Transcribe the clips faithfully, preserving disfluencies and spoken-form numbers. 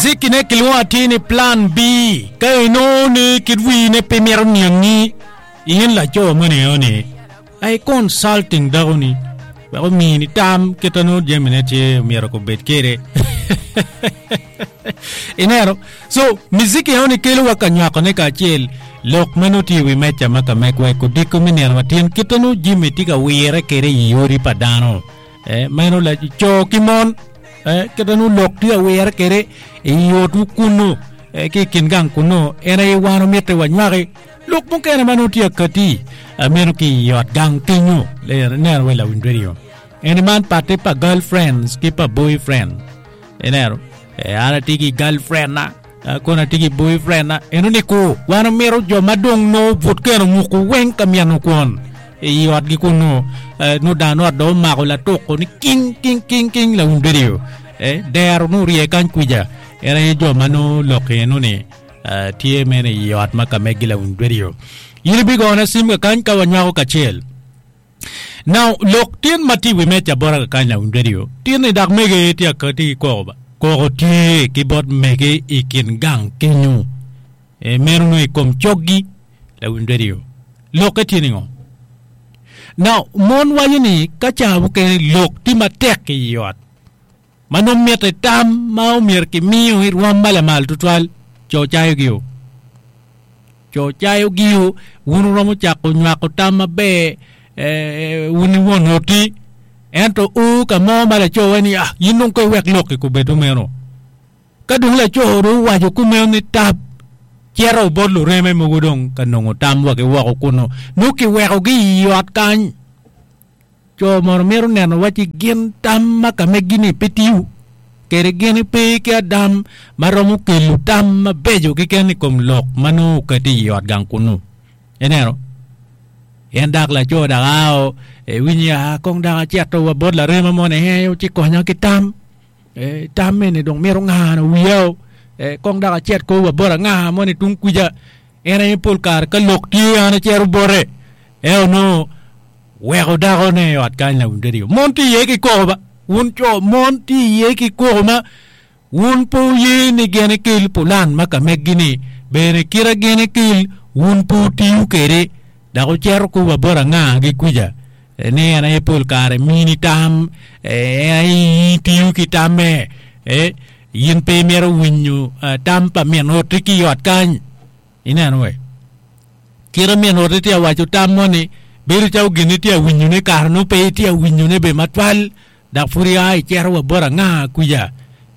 Miziki ne kilwongo atir ni plan B. Ka inongo ni kit wii ne pe mito niangi, in laco moni eno ni, ai consulting dako ni, wek omini tam kit ma nongo jamine tye myero obed kwede. Ineno? So, miziki eno ni kelo wa ka nywakone kacel lok ma nongo tye i wi meja ma ka megwa i kodiko me nino matin kit ma nongo jami tye ka wire kwede i odi pa dano. Eh, meno laco ki mon, eh, kit ma nongo lok tye ka wire kwede i otwu kunu, eh, ki i kin gang kunu, en aye wan omite wanywaki lok mukene ma nongo tye akati, eh, meno ki i ot gang kenyo. Ineno wa lawiny radio. Eni man patte pa girlfriends ki pa boyfriend. Ineno? Eh, an atye ki girlfriend na, eh, kono atye ki boyfriend na. Eno ni ku, wan omito jo ma dong nongo but keno muku weng ka myeno kwon i otgi kunu. Eh, nongo dano ot dong omako latuko ni king, king, king, king lawiny radio. Eh, dero nongo orye kany kwija. En aye jo ma nongo lok eno ni, eh, tye meno i ot ma ka megi lawiny radio. In ibigona sim kakany ka wanywako kacel. Now, lok tin ma tye i wi meja bota kakany lawiny radio, tin ni dok mege tye akati ki koko ba. Koko tye ki bot mege i kin gang kenyo. E, meno nongo i kom coggi lawiny radio. Lokke tye ni ngo? Now, mon waco ni ka ca mukene lok tye matek i ot, ma nongo mitte tam ma omyero kimiyo i rwom ma lamal tutwal, co cayogi o. Co cayogi o, wun wuromo cako nywako tam maber, eh, wun i won oti, ento o ka mo ma laco waco ni, ah, in dong ko iwek lok i kobedo meno. Ka dong laco dong owaco kumeno ni tap, cito bot lureme mogo dong ka nongo tam wa ki woko kunu, nongo kiwekogi i ot kany. Co mono mito neno wacci gin tam ma ka megi-ni pe tiyo, kede gin pe ki adam ma romo kelo tam mabeco keken i kom lok ma nongo okati i ot gang kunu. Ineno? En dak laco dak ao, iwinyo ya, kong dak acito wa bot larema moni, ee, ci konya ki tam. Eh, tam eni dong mito ngano wiya o. Eh, kong dak acit ko wa bot anga moni tung kwija. En aye pol kare ka lok tye an acito bote. Ento nongo weko dakone i ot kany lawiny radio. Mon tye iye ki koko ba. Wun co, mon tye iye ki koko ma wun pe wuye ni gin ekel pulan ma ka meggi-ni, bene kite gin ekel wun pe wutiyo kwede. Dok wucito ko wa bot anga gi kwija ni en aye pol kare mini tam, en aye itiyo ki tamme, in pe imito winyo tam pa min oti ki i ot kany. Ineno we? Kite min oti tye ka waco tam moni, bedo calo gin itye ka winyone kare nongo pe itye ka winyone bene matwal, dok pud ia icito wa bot anga kwija.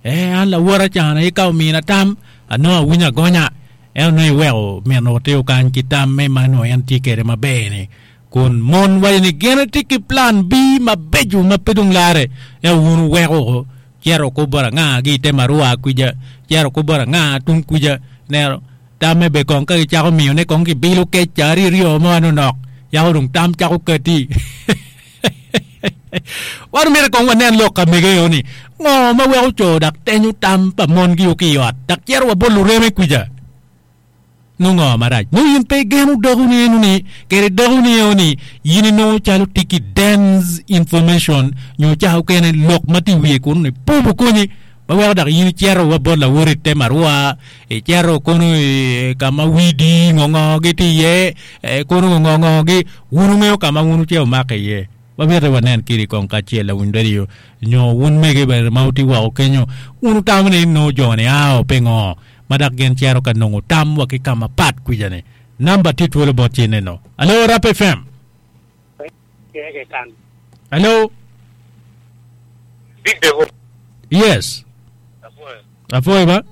Eh, an lawota can aye ka omina tam, anongo awinyo agonya. Ento nongo iweko min oti okany ki tamme ma nongo en tye kwede maber-ni. Kun mon waco ni gin tye ki plan B mabeco ma pe dong larre, ento wun wuweko woko, cito ko bot anga ki i te marua kwija, cito ko bot anga tung kwija. Ineno, tamme bene kong ka gicako miyone kong gibilo kec ca aryo ryo mo manonok, yako dong tam cako kati. Wan omyero kong wanen lok ka mege eno ni, ngo ma weko co dok tenyo tam pa mongi ki i ot dok cito wa bot lureme kwija? Nongo ngo marac? Nongo in pe igeno dakoni eno ni, kede dakoni eno ni in inongo calo tye ki dense information nyo ca okene lok ma tye i wiye kunu ni pubu konyi ma weko dok in icito wa bot lawoti i te marua, icito kono i ka ma wii dii ngo ngo gi tye iye, kono ngo ngo ngo gi, wun wungeyo ka ma wun wucito wumake iye. Wamito wanen kidi kong kacel lawiny radio nyo wun mege bene ma wutye woko kenyo, wun wutamo ni nongo jo-ni ao pingo ma dok gin cito ka nongo tam wa ki ka mapat kwija-ni. Namba tye twolo bot ci ineno. Alo, Rap F M. Alo. Yes. Apwoyo ba.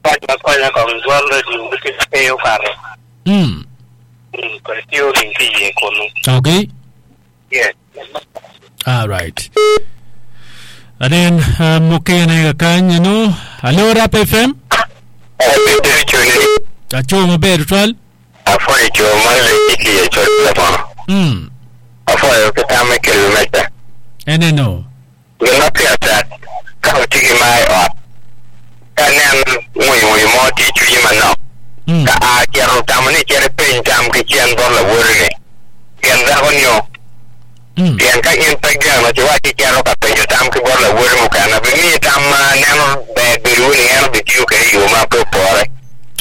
Pac ma konya kong dwon radio gi tye pe okato. Mm. Mm, kodi tye oring ki iye kunu. Okay. Yes. All right. Anen uh, mukene kakany eno. Alo, Rap F M. Aco maber tutwal. Apwoyo co ma legi ki i acol labono. Mm. Apwoyo ki tam me kelo meja. Eneno. Gin ma pire tek ka watye ki mar i ot, ka inen ngwinywinyo mo tye i cwinyi manok, ka a cito tamo ni icit ipeny tam ki cen bot lawoti-ni, gen dako nio. Pien ka in pe igeno ci waci icito ka penyo tam ki bot lawoti mukene, bimiyi tam ma neno ber tiyo kede yo ma pe opore.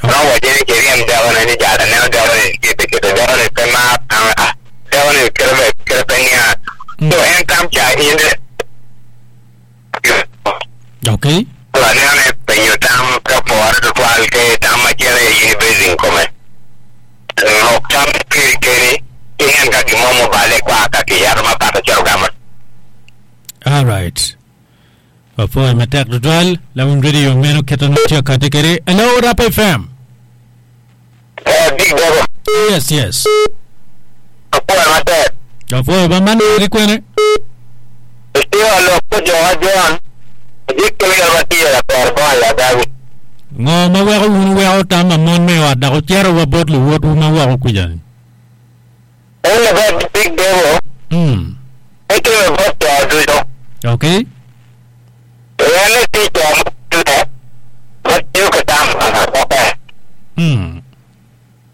No waco ni kiriem dakone ni jal aneno dakone kite kite dakone pe mar ah dakone kite be kite pe niang. So en tam ca in Okay. Aneno ni penyo tam pe opore tutwal ke tam macelo in ibeding kome. Lok tam piri keni inen ka gimo mobale kwa ka kiyero mapat ocito gamo. All right. Wapoyo matek tutwal lawiny radio meno kite nongo tye kati kede. Hello Rap F M. Eh, Big Devil. Yes, yes. Wapoyo matek. Wapoyo ba man eri kwene? Itiro lok ko jo a John. Dik kelo yar matiyo la per bo ya dawi. Ngo ma weko wun weko tam ma mon me ot dok ocero wa bot luwotwu ma woko kuja ni? En ba Big Devil. Mm. Itiro bot jo ducu. Okay. En ti jo mukene ma tiyo ki tam okay. Mm.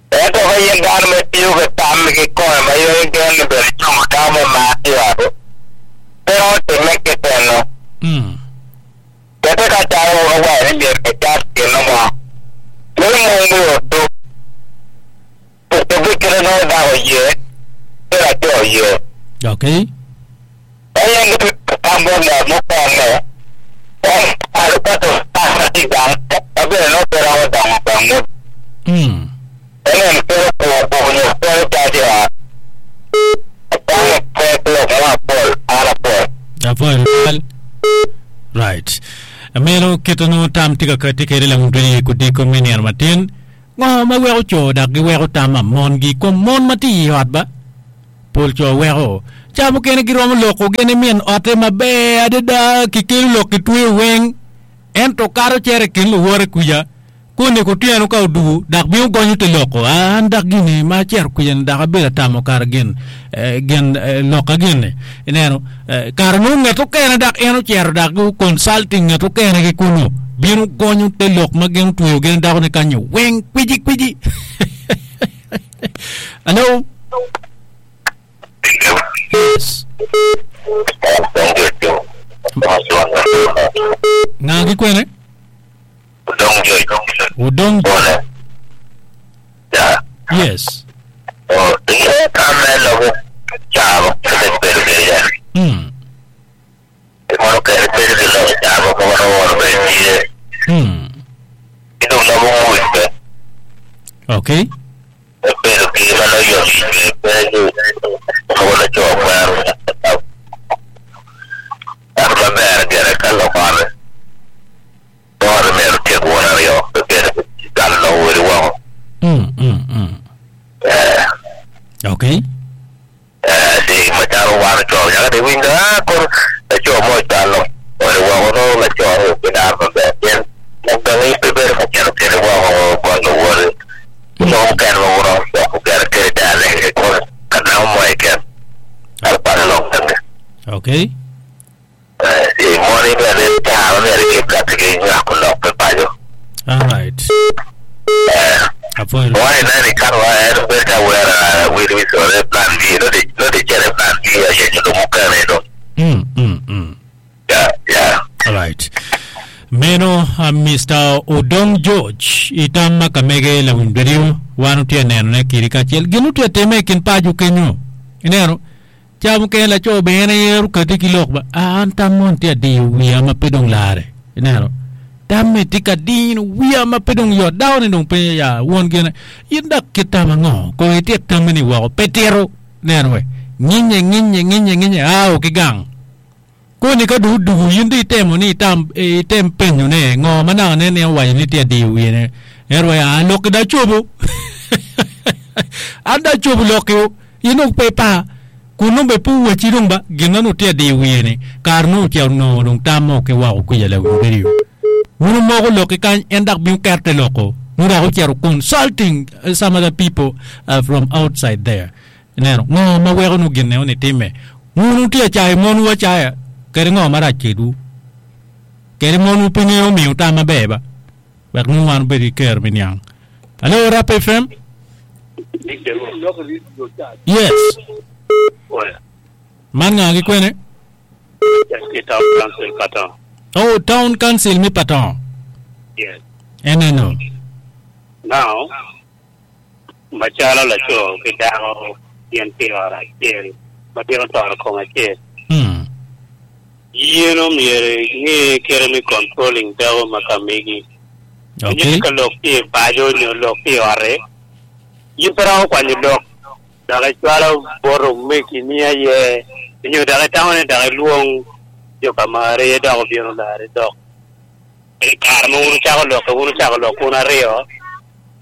Ento ka yen dano ma tiyo ki tam ki kome ma yo gen ni bedo cungo dano me mar i ot, pe romo timme kekeno. Mm. Kete ka calo owaco ni myero kicat gino mo. Nongo mon gurutu. Obi kite nongo dako ye, ki laco ye. Okay. En yen tam bot ngat mukene, en alo ka to tam i gang, ma bene nongo pe romo dongo gang mo. Mm. En en kelo kwo kwo nyo kwo cac i ot. Apango pe lok mo apol, an apol. Apol. Right. Ameno kite nongo tam tye ka kati kede lawiny radio kudiko me nino matin. Ngo ma weko co dok giweko tam ma mongi kom mon ma tye i ot ba? Pol co weko. Ca mukene giromo loko gene min otte maber adada kikelo lok kitweyo weng. Ento kato cere i kin luwote kuja. Koni kutyeno ka odugu dok bino gonyo te loko. An dok gini ma acero kuja ni dok abedo atamo kara gin, eh, gin, eh, loka gin-ni. Ineno, eh, kare nongo ngat okene dok en ocero dok gu consulting ngat okene ki kunu. Bino gonyo te lok ma gin otweyo gin dako ni kanyo weng kwiji kwiji. Hello? Yes. Nga ki kwene? Odong Joy. Odong Bole. Ya. Yes. Oh, iye kame lobo chabo kete bedo bedo. Mm. Mono kere bedo gi lobo chabo ko wono wono bedo tye. Mm. Ito lobo muj be. Okay. Bedo gi ma no yo gi bedo lobo na cho kwero. Ar maber gere ka lokore. Ore mero tiek wuon ariyo bedo gal no weri woko. Mm, mm, mm. Eh, Okay. eh, di machalo wan cho nyaka di winjo ah koro laco mo chalo ore woko no laco ki dar maber pien gangi pe bedo ka cito kede woko bot luwoti. No mukene ma wuro coko gere kede dane koro ka namo mo keken kar kwano lok gangi. Okay. Eh, di moni bene caro myero kikati ki nywako lok pe paco. All right. Eh, Apoyo. Why nani kan wa en bedo ka wera wili wisore plan B no di no di chere plan B aye nyo mukene no. Mm, mm, mm. Ya, ya. All right. Meno uh, Mister Odong George itam ma kamege lawiny radio wan otye neno ne kiri kacel gin otye time i kin paco kenyo ineno ca mukene laco bene yero kati ki lok ba ah, an tam mon tye adiyo wiya ma pe dong lare ineno tamme tye ka dino wiya ma pe dong yot dako ni dong pe ya won gine in dok kit tam ango ko itit tamme ni woko pe tito neno we nginye nginye nginye nginye ao ki gang koni ka du dugu in di itemo ni itam item penyo ne ngo ma naka ne ne owaco ni tye adiyo wiye ne ero ya lok da cobo an da cobo lok yo in dong pe pa kun nongo be pe owacci dong ba gin ma nongo tye adiyo wiye ni kare nongo ocito nongo dong tam mo ki woko kuca lawiny radio wun omoko lok ki kany en dok bino keto te loko nongo dok ocito consulting uh, some other people uh, from outside there ineno ngo ma weko nongo gin ne ni timme wun wutye acayo monwu acaya kede ngo marac kedwu kede monwu pe ngeyo miyo tam maber ba wek nongo wan obed ki kero me niang. Hello Rap F M. Yes. Man nga ki kwene? Town Council Patong. Oh, Town Council mi Patong. Yes. Eneno. Now, macalo laco ki dako gin tye i ot acel ma gin otoro kom acel. Mm. Yin omyero ing'e kite me controlling dako ma ka megi. Okay. Inyo ka lok tye i paco nyo lok tye i ot-ti, in pe romo kwanyo lok dok icwalo bot omegi ni aye nyo dok itamo ni dok ilwong jo ka mari dok obino lari dok. I kare ma wun ucako lok wun ucako lok wun aryo,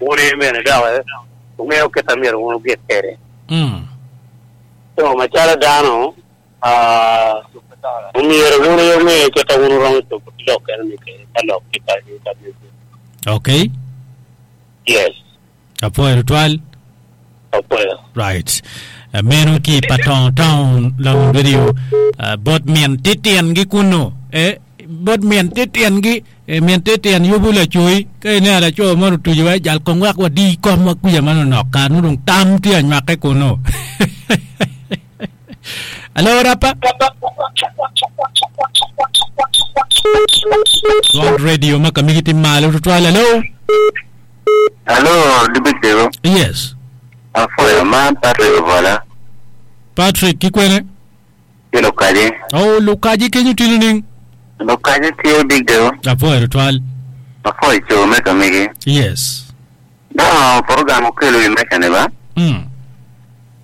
wun aye bene dok wungeyo kit ma myero wun wugik kwede. Mm. So macalo dano, ah, omyero wun aye wunge kit ma wun wuromo cobo ki lok eno-ni kwede ka lok tye ka ka megi. Okay. Yes. Apwoyo tutwal. Apwoyo. Right. Uh, meno ki Patong Town Lawin Radio uh, bot min titien gi kuno. Eh, bot min titien gi eh, min titien yubu lacoi ka ineno laco mo otuco wa jal kong wek wadi kom wa kuca manonok kar nongo dong tam tye anywake kuno. Alo rapa. Rod Radio ma kamigi tye malo tutwal. Alo. Alo, Dibideo. Yes. Apwoyo man Patrick Obola. Patrick kikwene. Ki Lukaji. Oh, Lukaji kenyo tye nining? Lukaji tye Big Deal. Apwoyo tutwal. Apwoyo co me kamigi. Yes. No, program okelo i meca ni ba. Mm.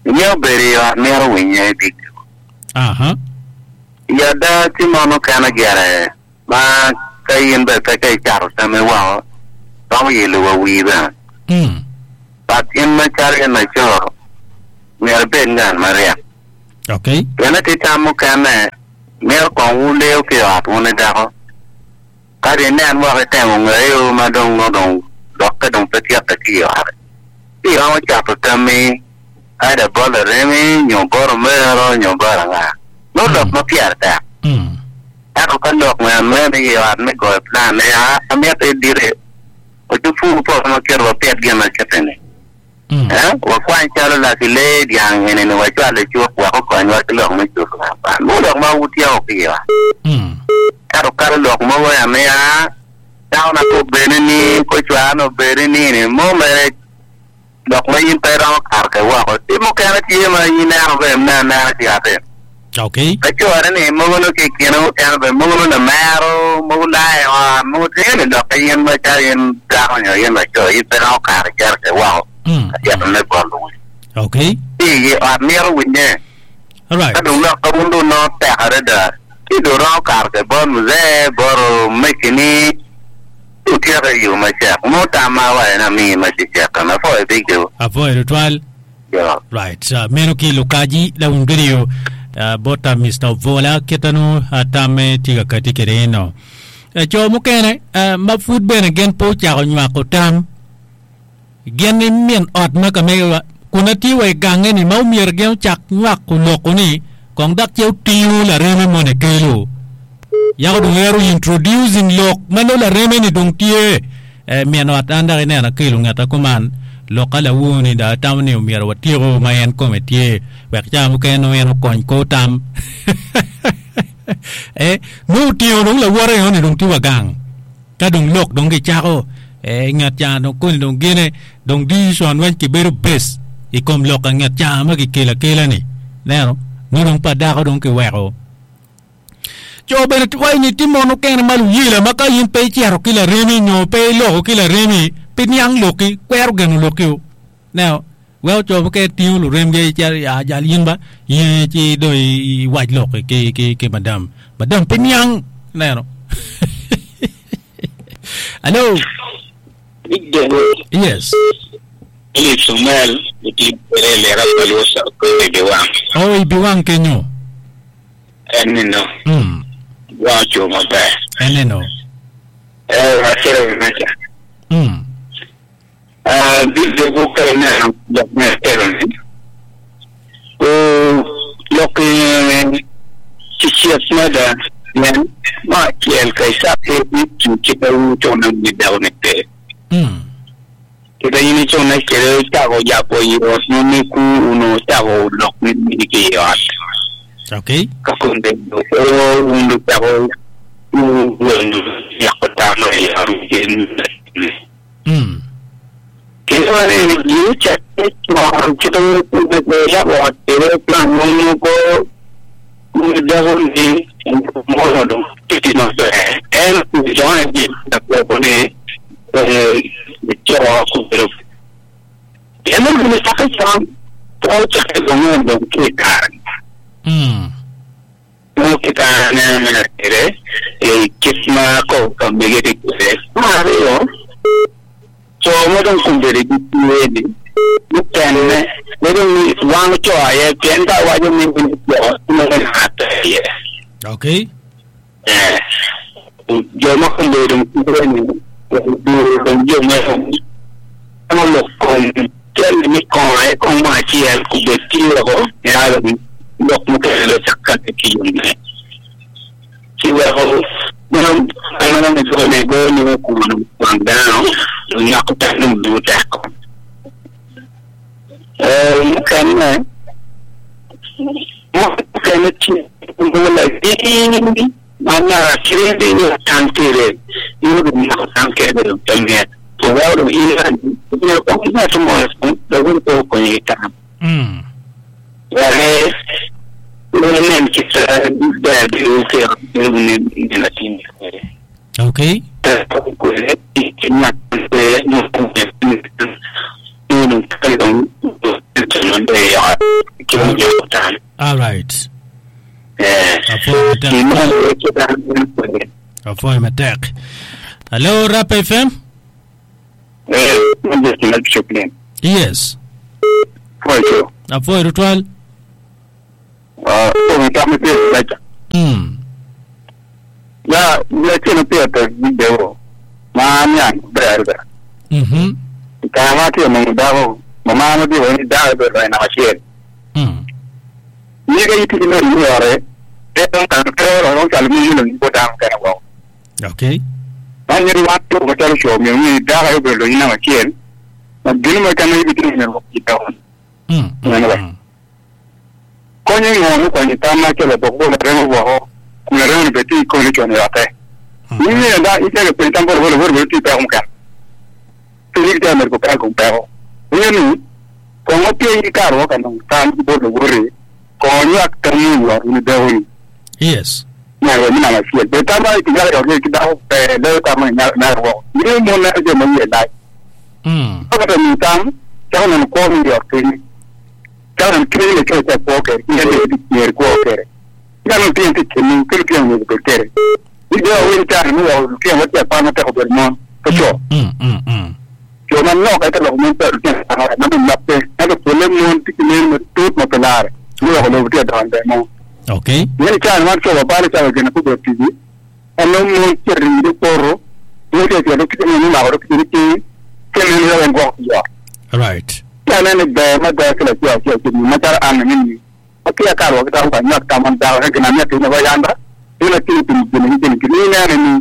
Inyo bedo i ot mito winye Big Deal. Aha. I ada tye mon mukene gire ma ka in bene pe ka icato tame woko romo yelo wa wii bene. Mm. But in macalo in laco myero ibed ngat maryek. Okay. Pien tye tam mukene myero kong wuleo ki i ot wun i dako. Ka di inen woko itemo ngeyo ma dong nongo dong lokke dong pe tyeke ki i ot. Ci iromo cato tammi either bot laremi nyo bot omero nyo bot anga. Nongo lok ma pyere tek. Mm. Ento ka lok meno i ot me goyo plan ni a amito idite ocupur poto ma kito wapit gin ma kite-ni. Mm. Eh, wakwany calo laki lee dyang eni ni wacwal i cuk wek okonywa ki lok me cuto kwan. Nongo lok ma wutyeko ki i ot. Mm. Ento kalo lok mogo ya miya dako na ko bene ni ko cwara obedi ni ni mo mere lok ma in pe iromo kato ke woko. Tye mukene tye ma in ineno bene me anena ki ot-ti. Okay. Ka core ni mogo nongo ki i kine mukene bene mogo nongo lamero, mogo layo i ot, mogo tye ni lok ka in macalo in dako nyo in laco in pe iromo kato icito ke woko. Mm. Ka cito me bot luwil. Okay. Ci i ot mito winye. All right. Ka dong lok ka wun dong nongo tek adada ci dong romo kato ke bot muzee bot omegini ci wutyeko i yo macek. Mo tam ma awaco ni amii ma cecek kan apwoyo Big Deal. Apwoyo tutwal. Yeah. Right. Uh, meno ki Lukaji Lawin Radio uh, bota Mister Ovola kitanu uh, tamme tye ka kati kwede eno. Uh, co mukene uh, ma pud bene gin pe ocako nywako tam gin ni min ot ma ka mege kun atye wa i gange ni ma omyero gin ocak nywako loko ni kong dok ce otingo lareme moni kelo. Yako dong ero introducing lok ma nongo lareme ni dong tye eh, min ot an dok ineno akelo ngeta kuman lok ka lawo ni dong atamo ni omyero watyeko ma en kome tye wek ca mukene nongo en okony kor tam. Eh, nongo otingo dong lawote eno ni dong tye wa gang. Ka dong lok dong gicako eh, ngat ca dong koni dong gine dong decision weng kibedo base i kom lok a nget ca ma kikelo akela ni. Neno, nongo dong pa dako dong kiweko. Co bene waco ni tye mon mukene ma luyela ma ka in pe icito ki laremi nyo pe iloko ki laremi pi niang lokki, kwero geno lokki o. Neno, weko co mukene tingo luremgi icito ya jal in ba in ci dong iwac lokki ki, ki, ki madam. Madam pe niang, neno. Hello. Big Deal. Yes. Philip Sumel, oti bere lera paluosa ko ibiwang. Oh, ibiwang kenyo. En nino. Mm. Wa cho maber. En nino. Eh, wa kero mecha. Mm. Ah, Big Deal ko kare na lok me tero ni. Ko lok chichiek mada yen ma kiel kai sa ke ni ki pa u cho na ni daw ne te. Mm. Kita ini cho na kere chago japo yo no ni ku uno chago lok ni ni ki yo. Okay. Ka kunde o undu chago u wenu yakota no ya ru gen You check it on to the yabo ere plan no ko ni mo do titi no se en join di da ko ni eh cho ko pero en no ni sa ka chan to che ke no do ke kar Mm. no ke ka na na ere e kisma ko ka mege te ma yo so mo dong kumbere ki ni mukene ne dong wang cho aye pien ta wa jo min min jo no na ta ye Okay. eh jo ma kumbere dong kumbere ni du dong jo ma mo lo kon tel ni kon ai kon ma chi el ku be ti ro ya lo lok mo ke lo chakka ki yo ne chi wa ho no no no go ne go ni ko no wang da no nya ko ta no du ta ko eh mukene mukene chi ngola di mana kirende ni tantere ni ni ko tankere do tamne to wa do ina ni ko na to mo do ko ko ni ta Mm. ya re no nem ki sa da di u ke ni ni na tin Okay. ta ko le ti na te no ko ni no ka do no de ya ki mo yo ta All right. eh Afoy matek. ki mo ke ta Afoy matek. Hello, Rap F M. eh mo de na choklen Yes. foi jo Afoy rutwal. ah ko mi ta mi pe la Mm. ya ya ke no pe ta video ma nya ber ber Mhm. ka ma ti mo da ho ma ma no di ho ni da ber na ma che Mm. ni ga yiti no ni ore e don kan ke ro ro kal mi ni ko da ka wa Okay. ma ni ri wa to ko ta sho mi ni da ga ber lo ni na ma che ma gini ma kan ni bi ni ro ki ta ho Mm. No, no. Mm. ko ni no ko ni ta ma ke lo ko la re mo ho ku la re ni be ti ko ni cho ni ra te Mm. ni ni da i te ko tan bor bor bor ti pe ko ka ti ni te mer ko ka ko pe ho ni ni ko ngo pe ni ka ro ka no tan bo lo bo re ko ni ak tan ni wa ni de ho ni Yes. na ro ni na ma fi be ta ma ti ga ro ki da ho pe le ta ma na na ro ni mo na je mo ye dai Mm. ko ka ni tam ta no ko mi ro ti ni ta no ki ni ke ko ko ke ni de ni ko ke ya no ti ti ni ke ti ni ko ke ni de o ni ta ni o ti mo ti pa na te ko mo ko cho Mm. Mm. Mm. cho man no ka te lo mo pe ti na na mo na pe na ko le mo ti ni mo tut mo pe la ni o lo ti da de mo Okay. ni cha na cho ba pa cha ke na ku be ti ni ano mo ti ri ni poro ni te ti ro ki ni ma ro ki ni ki ke ni ro en go ya All right. ya na ni be ma da ke la ya ya ki ni ma ta an ni ni ki ya ka ro ka ta na ta man da ke na mi ti na ba ya nda ni na ti ti ni ni ni ni na ni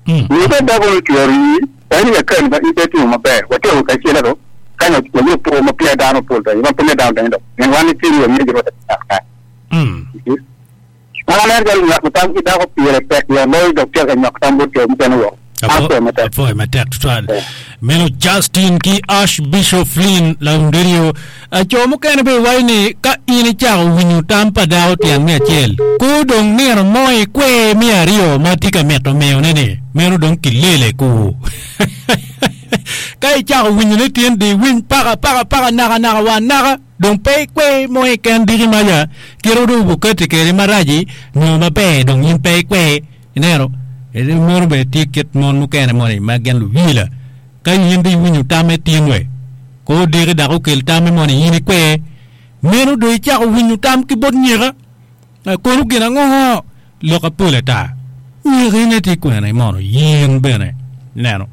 Mm. ni da da ko ti ro ni ta ni ya ka ni ba ni te ti ma be wa te o ka che la ro ka na ko ni po ma pi da no po da ma pe ne da da ni wa ni ti ro ni ro ta ka Mm. Mana gal nyak tam ki da ko pire pek ya loy do ke nyak tam bo ke mten wo. Apo mata. Afoy matek tutwal. Meno Justin ki Archbishop Flynn la undirio. Acho mukene be waini ka ini chako winyo tam pa dao tiang me achiel. Ku dong nino moi kwe mi ariyo ma tye ka mito miyo ne ni. Meno dong kilele ku. Ka ichako winyo ne tyen di winy paka paka paka naka naka wa naka dong pe kwe moi ken diki maja kiro du buketi kere maraji nyo maber dong in pe kwe ineno ere moro be tye kit mon mukene moni ma gin luwila ka in di winyo tame tyen we ko diki dok okel tame moni in ikwe meno dong icako winyo tam ki bot nyika kono gin ango lok apol ata nyikine tye kwene mono yen bene ineno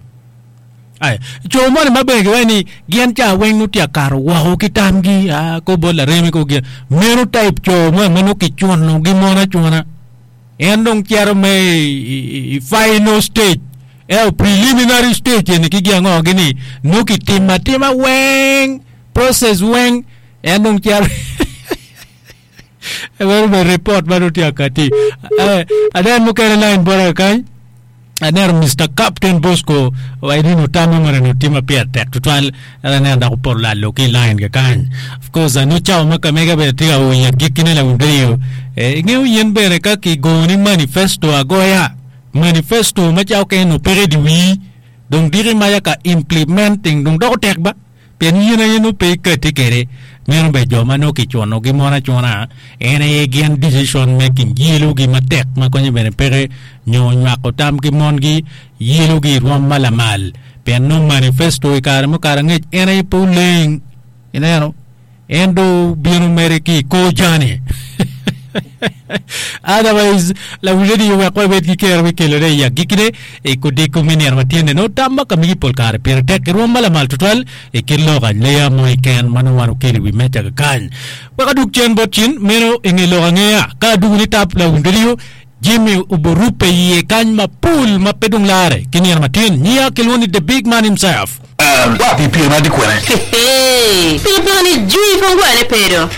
Ai, co moni ma bene giwaco ni gin ca weng nongo tye akato woko ki tamgi ah, ko bot laremi ko gin meno type co mo ma nongo kicuno gi mon acuna en dong cito me i, i, i final stage eo preliminary stage eni ki gin ango gini nongo kitimo atima weng process weng en dong cito meno be report ma nongo tye akati eh, anen mukene line bota kany. Aneno Mister Captain Bosco wa inino tam mo ni tye ma pire tek tutwal aneno dok opoto lalo ki i line kakany. Of course ano cawa ma kamega bene tye ka winyo agikkine lawiny radio. Eh, ingeyo yen bene ka kigoni manifesto agoya manifesto ma cawa okene no peke di wii dong diki maya ka implementing dong doko tek ba pien yen aye nongo pe ikati kwede meno bene jo ma nongo kicunogi mon acuna en aye gin decision making yelogi matek ma konyo bene peke nyo nywako tam ki mongi yelogi i rwom ma lamal pien nongo manifesto i kare mukato angec en aye pe oleng ineno en dong obino mere ki i kor jani otherwise lawiny radio wek wabed ki kero me kelone i agikkine i kodiko me nino ma tyene nongo tam ma ka migi pol kare pire tek i rwom ma lamal tutwal i kit lok aleya mo keken ma nongo wan okelo i wi meja kakany wek adug cen bot cin meno i nge lok angeya ka adugo ni tap lawiny radio Jimmy oborupe iye kany mapol ma pe dong lare ki nino matin nyiya kilwongo ni the big man himself. Wa pikipiki na tye kwene. Pikipiki ni jwi pe ongwale pedo.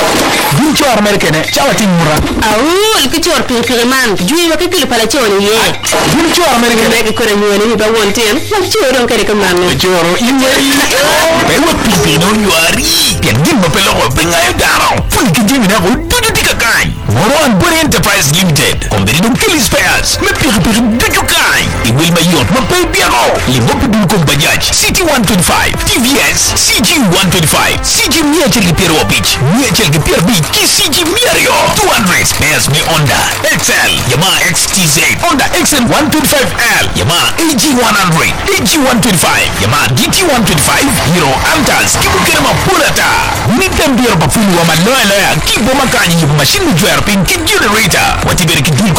Gin coro mere kene cawa tye nyuta. Aol ki coro pikipiki man jwi wa ki kilo pa laco ni iye. Gin coro mere kene. Megi kore nywene wi pa won tyen wa coro dong kede kamano. Coro in weri. Pe wek pikipiki ne onywari pien gin ma pe loko pe ngayo dano. Pwony ki jami neko ducu tye kakany. Moro and Body Enterprise Limited kombeddi dong keli spares me pikipiki ducu kany i wil mayot ma pe ibyeko. Limo pi dul kom Bajaj C T one twenty-five, T V S C G one twenty-five, C G mia achiel gi piero abich, mia achiel gi piero abich ki C G mia ariyo two hundred. Spares me Honda X L, Yamaha X T Z, Honda X L one twenty-five L, Yamaha A G one hundred, A G one twenty-five, Yamaha D T one twenty-five, Hero Altas ki mukene mapol ata. Mitte mbiero pa fulu wa maloya loya ki boma kanyi yubo mashin me jwero piny ki generator. Watye bene ki dul kom